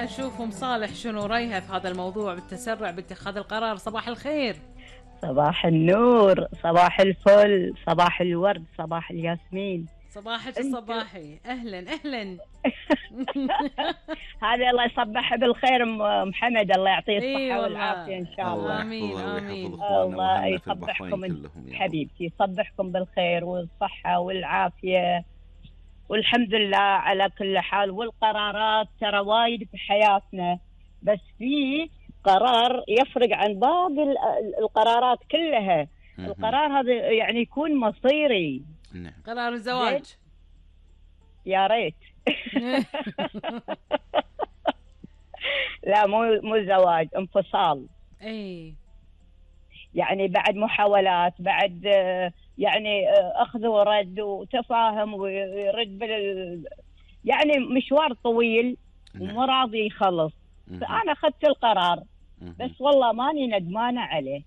خلينا نشوف ام صالح شنو رايها في هذا الموضوع بالتسرع باتخاذ القرار. صباح الخير. صباح النور، صباح الفل، صباح الورد، صباح الياسمين. صباحك الصباحي. اهلا اهلا. هذا الله يصبح بالخير ام حمد، الله يعطيه الصحه والله. والعافيه ان شاء الله. امين امين. الله يصبحكم حبيبتي، يصبحكم بالخير والصحه والعافيه والحمد لله على كل حال. والقرارات ترى وايد في حياتنا، بس في قرار يفرق عن باقي القرارات كلها. القرار هذا يعني يكون مصيري. قرار الزواج يا ريت. لا مو زواج، انفصال. اي يعني بعد محاولات، بعد يعني اخذ ورد وتفاهم ويرد يعني مشوار طويل ومو راضي يخلص. فانا اخذت القرار، بس والله ماني ندمانه عليه.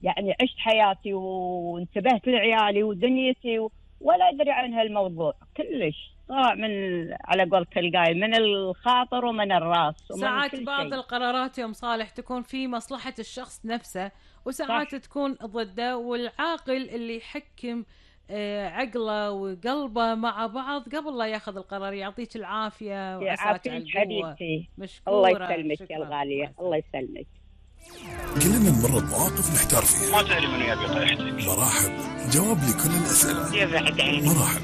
يعني عشت حياتي وانتبهت لعيالي ودنيتي ولا ادري عن هالموضوع كلش. طلع من على قولة القايل من الخاطر ومن الراس ومن ساعات كل بعض شيء. القرارات يا ام صالح تكون في مصلحة الشخص نفسه، وساعات صح. تكون ضده، والعاقل اللي يحكم عقله وقلبه مع بعض قبل لا ياخذ القرار. يعطيك العافية وعساك على القوة. حبيبتي مشكورة. الله يسلمك يا الغالية، الله يسلمك. كلنا نمر بمواقف نحتار فيها. ما تدري من يبي طيحتك. مراحب جواب لكل الأسئلة. يا بعد عيني. مراحب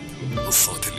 الصوت